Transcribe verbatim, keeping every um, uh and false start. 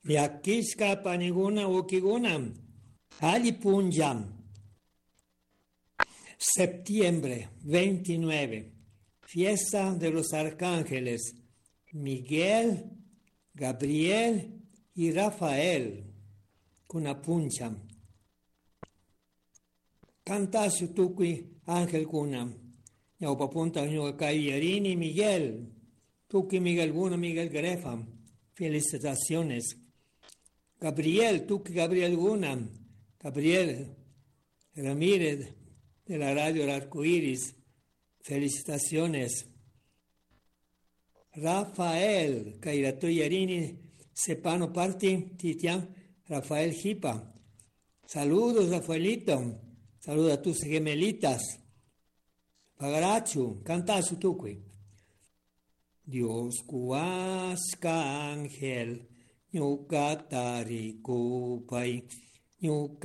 Llakishka paniguna wawkikuna alli punlla. Septiembre veintinueve, fiesta de los arcángeles Miguel, Gabriel y Rafael. Kuna puncha. Cantasu tukuy angelkuna. Ñawpapunta ñuka kay Yarini Miguel. Tukuy Miguelkuna Miguel Grefa. Felicitaciones. Gabriel, tukuy Gabrielkuna. Gabriel Ramírez de la radio El Arco Iris. Felicitaciones. Rafael, Kairato Yarini, Sepano Party, Titian, Rafael Jipa. Saludos, Rafaelito. Saludos a tus gemelitas. Pagarachu, cantasu tukuy. Dios cuasca ángel, ñuca taricupay, ñuca